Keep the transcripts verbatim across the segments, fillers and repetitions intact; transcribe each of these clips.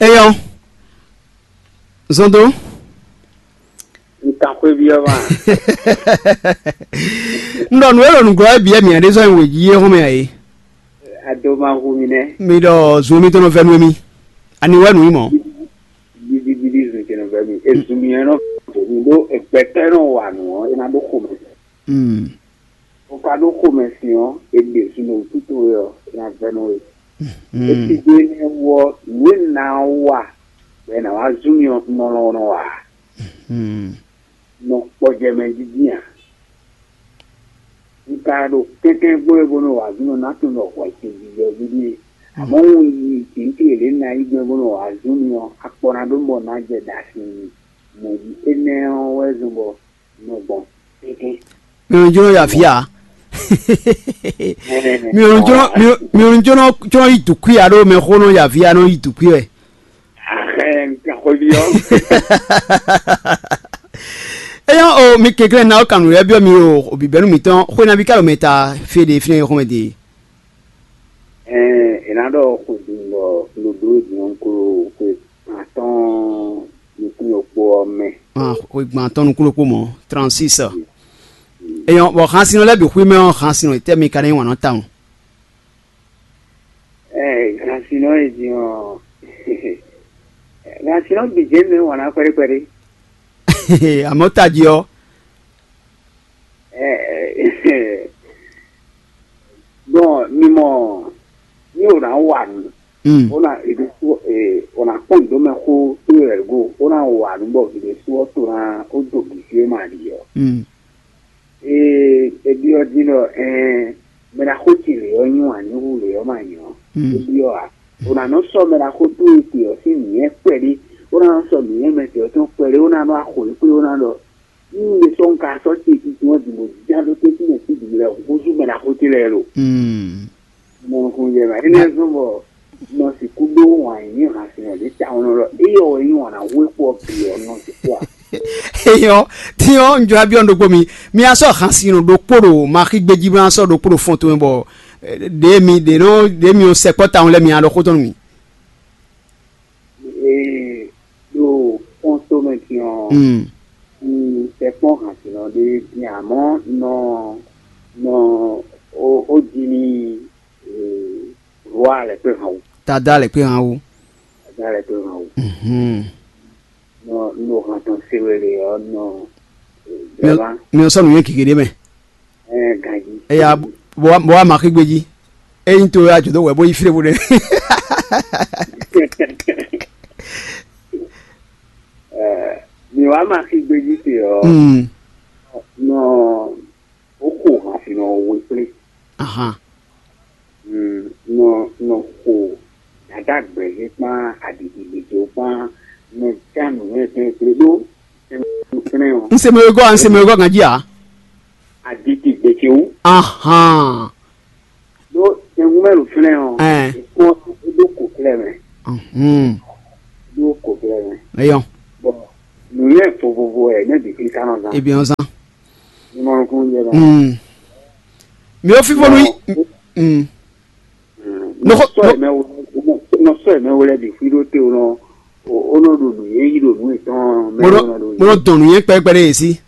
Eyɔ́, zɔn dó. Un kan xwé byɔ́ ma. Un ɖɔ nǔ e ɖo nǔglɔ́ wɛ bǐ wɛ mǐ ɖe sɔ́ nyi wějí é xɔ́mɛ ǎ é. Ado ma hu mi nɛ́. Mi ɖɔ zun mitɔn nɔ vɛ́ nú émí. Ani wɛ nǔ nyí mɔ̌? Bíbíbíbí zun ce nɔ vɛ́ mi. Ezun mi ɛ nɔ vo mi ɖó egbɛtɔ́ e nɔ wa nǔ ɔ́, é ná ɖó xomɛ. Mm. O ka ɖó xomɛ sin ɔ́, e ɖe zun ɖo wútu towe ɔ́, é ná vɛ́ nú we. Mm. Esi dó énɛ́ wú ɔ́, nǔ e ná wa bɔ è nǎ wá zun mi ɔ́, nɔ lɔ nɔ wa. Mm. Nɔ kpɔjɛ mɛ dídí ǎ. Un ka ɖo kɛnklɛ́n gbɔn é bó nɔ wa zun nɔ ná tunwun ɖɔ hwɛ ce jijɛ ví ɖíe. Amɔ̌ un yi jǐnukí yěɖée ná yí gbɛn bó nɔ wa zun mi ɔ́, akpɔ ná ɖó mɔ ná jɛ ɖa sin mi. Mɔ̌ jí énɛ́ ɔ́ wɛ zɔn bɔ nɔ gbɔn kɛnklɛ́n. Mi ò ní jló ya fí a? Mi ò ní jló, mi ò ní jló, jló yi dǔkúí a ɖó mɛ xó nɔ ya fí a nɔ yi dǔkúí wɛ. Ahɛn, gaxɔvi ɔ́. Eyɔ́ o, mi kɛnklɛ́n ná ó kan nǔ lɛ́ɛ byɔ́ mi o, o bǐbɛ́nú mǐtɔn xwénaví ka ɖo mɛ ta fí e ɖe fínɛ́ é xɔ́mɛ ɖe. Ɛɛ, è nǎ ɖɔ xwedun bɔ loɖó din ɔ́ klo xwe atɔ́ɔ́n nukún yɔkpó ɔ́ mɛ. Ah, xwe gbɔn atɔ́ɔ́n nukún ɖokpó mɔ̌, trente-six. Eyɔ́ bɔ xansinɔ lɛ́ɛ bǐ xwí mɛ ɔ́, xansinɔ tɛ́ mi ka ná nyí wǎn nɔ tawun? Ɛɛ, xansinɔ e din ɔ́, xansinɔ bǐ jɛ́n mɛ wǎn ná kpɛɖé kpɛɖé. Amɔ̌ tají ɔ́. Ɛɛ, bɔn mi mɔ ní o ná wa nǔ, Mm. o ná e ɖésú e o ná kpɔn nǔ dó mɛ xó tó wɛ go, o ná wa nǔ bɔ vǐ ɖésú ɔ́ to ná ó do bǐ fí e ma ɖi ɔ́. Mm. Ee, e byɔ́ din ɖɔ ɛɛ, mɛ ná xó ce lě ɔ́ nyí wǎn ní hu lě ɔ́ ma nyí ɔ́. Mm. E byɔ́ a? O ná nɔ sɔ́ mɛ ná xó tó e te ɔ́ sín nǔnywɛ́ kpɛɖé, o ná nɔ sɔ́ nǔnywɛ́ mɛ te ɔ́ tɔn kpɛɖé, o ná nɔ axo yě kplé, o ná ɖɔ ní un ɖe sɔ́ un ka sɔ́ ce titun ɔ́ din bó ján ɖó tɛ́ntin mɛ sín bǐ lɛ́ɛ húzú mɛ ná xó ce lɛ́ɛ lo. Mm. Mɔnukúnjɛ mɛ. Énɛ́ zɔ́n bɔ nɔ sixú ɖó wǎn yí hǎn sin ɔ́ ɖě tawun nɔ ɖɔ éyɛ́ wɛ nyí wǎn ná hu é kpó ɔ́ bǐ ɔ́ nɔ sixú a? Eyɔ́, tín ɔ́, un jlá byɔ́ nǔ ɖokpó mi. Mi ná sɔ́ hǎnsin ɖokpó ɖo maxígbé jí, bó ná sɔ́ ɖokpó ɖo fɔn towe bɔ eh, ɖě mi ɖě nɔ ɖě mi ɔ́ sɛkpɔ́ tawun lɛ́ɛ mi ná ɖɔ xó tɔn nú mi. Ee, ɖo fɔn tomɛ din ɔ́, Mm. un tɛ kpɔ́n hǎnsin ɔ́ ɖé din, amɔ́ nɔ nɔ ó ó ji ní ee, rwa lɛ kpé hàn wú. Tada lɛ kpé hàn wú. Ada lɛ kpé hàn wú. Mhm. Nɔ nɔ hàn tɔn se wɛ lě ɔ́ nɔ Mi ɔ- bɛba mi ɔ sɔ́ nǔnywɛ́ gěgé ɖé mɛ. Ɛ ganji. Eya bɔ wa bɔ wa ma xí gbejí. Eyin to ya jǒ dó wɛ bó yí fí ɖěvo ɖé. Ɛ mi wa ma xí gbejí te ɔ́. Mm. Nɔ ó xo hàn fi nɔ we kplé. Ahan. Mm, nɔ nɔ xo dada gbɛzé kpán adidi gbèjò kpán nɔ já nǔnywɛ́ kplé kplé ɖó fínɛ́ ɔ́. N se mɛ wegɔ́ a, n se mɛ wegɔ́ ganjí a. Aditi gbèsè wú. Ahan. Ɖó tɛngun mɛ ɖo fínɛ́ ɔ́. Ɛn. Kpɔ́n ɖó kò klɛ mɛ. Mhm. Ɖó kò klɛ mɛ. Eyɔn. Bɔn nǔnywɛ́ vovovo ɛ ne bǐ fi kánɔ zán. Ebi ɔn zán. Ní mɔ nukún jɛ lɔ. Mm. Mi ò fífó nú yí. Mm. Nɔ Nɔxɔ- sɔ nɔ- ɛmɛ wo nɔ sɔ ɛmɛ wo lɛ bǐ fi ɖó te o nɔ o nɔ ɖo nǔ yé yí ɖo nǔ yětɔn mɛ Mo nɔ o nɔ ɖo mo nɔ dɔn nǔ yẹn kpɛɖɛkpɛɖɛ yě sí.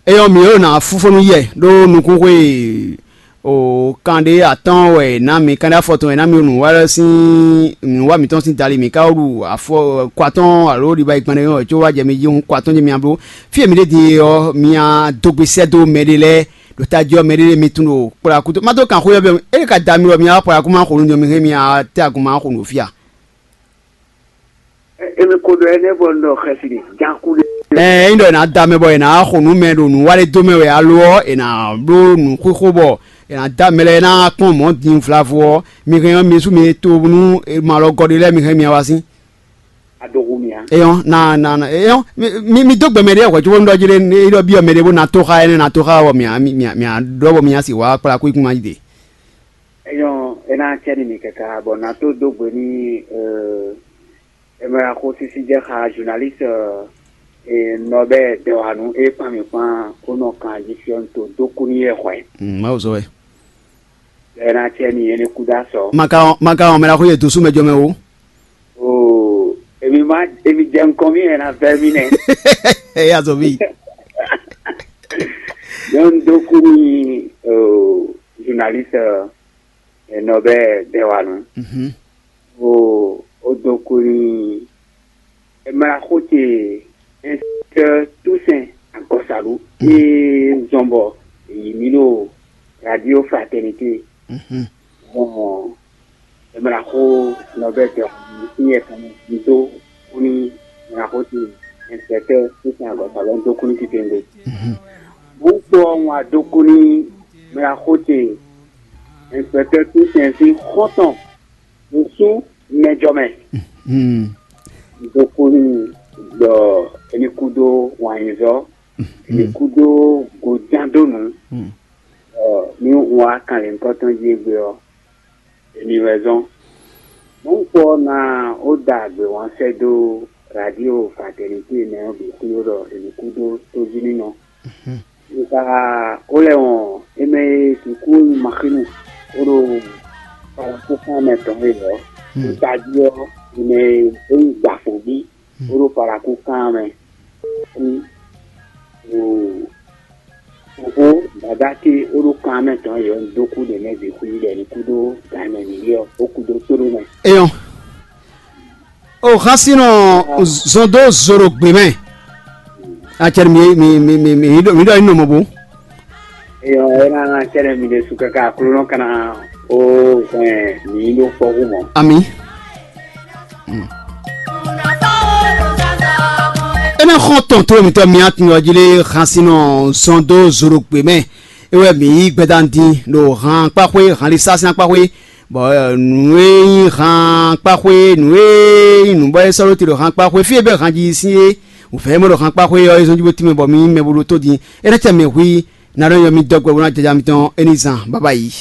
Eyɔ mǐ e nɔ afúfónú yɛ ɖó nukúnxwe o kan ɖé atɔ́ɔ́n wɛ è nǎ mǐ, kan ɖé afɔtɔn wɛ è nǎ mǐ, nǔwá lɛ́ɛ sín nǔwá mǐtɔn sín dali mǐ ka wú ɖu afɔ kɔ atɔ́ɔ́n alo ɖiba yi gbɛn ɖé wɛ có wá jɛ mi jí hǔn kɔ atɔ́ɔ́n jɛ mi bló. Fí e mǐ ɖe din ɔ́, mi dó gbe sɛ́ dó mɛɖé lɛ́ɛ ɖo tají ɔ́, mɛɖé mɛ tun ɖo kplɔ́ akúto. Má dó kan xó yɔ bɛ é ka da mi wɛ mi wá kplɔ́ akú má xo nú mi hɛn mi tɛ́ agun má xo nǔ fí a? Emi ko ɖɔ ɛnɛ bɔ nɔ xɛsi ɖe janku ɖe. Ɛɛ, é nyí ɖɔ è nǎ da mɛ bɔ è nǎ xo nǔ mɛ ɖo nǔ wa ɖé dó mɛ wɛ alo ɔ́, è nǎ bló nǔ xóxó bɔ è nǎ da mɛ lɛ́ɛ ná kpɔ́n mɔ̌ din vlavo ɔ́, mi hɛn ɔ́, mi sú mi to nú malɔgɔ́ ɖé lɛ́ɛ mi hɛn mi wá sín. Adoxu mia. Eyɔn na na na eyɔn mi mi mi dó gbɛmɛ ɖé hwɛ tso bó nú ɖɔ jí ɖé é ɖɔ byɔ mɛ ɖé bó na tó xa énɛ́ na tó xa wɔ mia mi mia mia ɖɔ bɔ mia si wá kplá kú ikú ma jí de. Eyɔn ena cɛ ni mi kɛkɛ bɔ na tó dó gbe ní euh, emela xó sisi jɛ xa journaliste euh, et Norbert Dewanu et kpan mi kpan kó nɔ kan jí fiɔ to dó kú ní yɛ xwɛ. Mm, ma wò zɔ wɛ. Ena cɛ ni yɛ ní kú dá sɔ. Maka maka ɔn mɛ la xó yɛ dosú mɛ jɔ mɛ o. Emi jɛ nukɔn mì wɛ ná vɛ́ mì nɛ́. Ɛ yá zɔ mì. Nyɔnu dó kú n'i, journaliste Nɔbɛ Dɛwanu. O o dó kú n'i, mlaxó ce, inspecteur Toussaint Agɔsalu e zɔn bɔ yi mì ɖo Radio Fraternité. Bɔn mlaxó Nɔbɛ Dɛwanu sín yɛ kan mɛ dó kú n'i, mlaxó ce, inspecteur Toussaint Agɔsalu dó kú n'i titewungbe. Bó kpó ɔ́, wǎn dó kú n'i, mlaxó ce, inspecteur Toussaint sín xɔ́ntɔn ɖo sú mɛjɔ mɛ. Dó kú n'i, ɖɔ é ní kú dó wǎnyizɔ́, é ní kú dó goján dó nǔ. Ní wǎ kanlěnkɔ́ tɔn jí égbé ɔ́, èmi wɛ zɔ́n. Mɔ̌kpɔ́ ná ó da agběwánsɛ́ dó Radio Fraternité mɛ ɔ́ bǐ xwíó ɖɔ è nǐ kú dó tójínínɔ. Nka ó lɛ́ wɔn é mɛ e sixú nyí Maxinu ó ɖo Palakúkán mɛ tɔn é lɔ̌. Tají ɔ́, è mɛ e é nyí Gbafɔ̌nbí ó ɖo Palakúkán mɛ. Fofó, dadá ce ó ɖo kan mɛ tɔn yɔ dó kú ɖe mɛ bǐ xwí ɖɛ ní kú ɖó gan mɛ ní ɔ́, ó kú dó tóɖó mɛ. Eyɔn. O xasinɔ zɔn dó zoro gbé mɛ. Acɛrɛ mi mi mi mi mi mi ɖɔ mi ɖɔ inú mɔ bó. Eyɔn, ena cɛrɛ mi ɖe su kaka Aklúnɔ kana ó hɛn mi ɖó kpɔ́ hú mɔ. Ami. Ena xɔn tɔn to mi tɔ mi atin ɔjile xasinɔ zɔn dó zoro gbé mɛ. Ewɛ mi yi gbɛdan din ɖo han kpaxwe han li sasin kpaxwe. Bɔ nǔ e nyí han kpaxwe nǔ e nyí nǔ bɔ é sɔ́ ɖó te ɖo han kpaxwe fí e bɛ́ han jí sín é. Wǔvɛ́ mɔ ɖo han kpaxwe ɔ́ é zɔ́n jí bó tínmɛ bɔ mi nyí mɛ bo ɖó tó din. É ná cɛ mɛ hu yi ná ɖɔ nyɔ mi dɔgbɛ bó ná jaja mitɔn é ní zan bábá yi.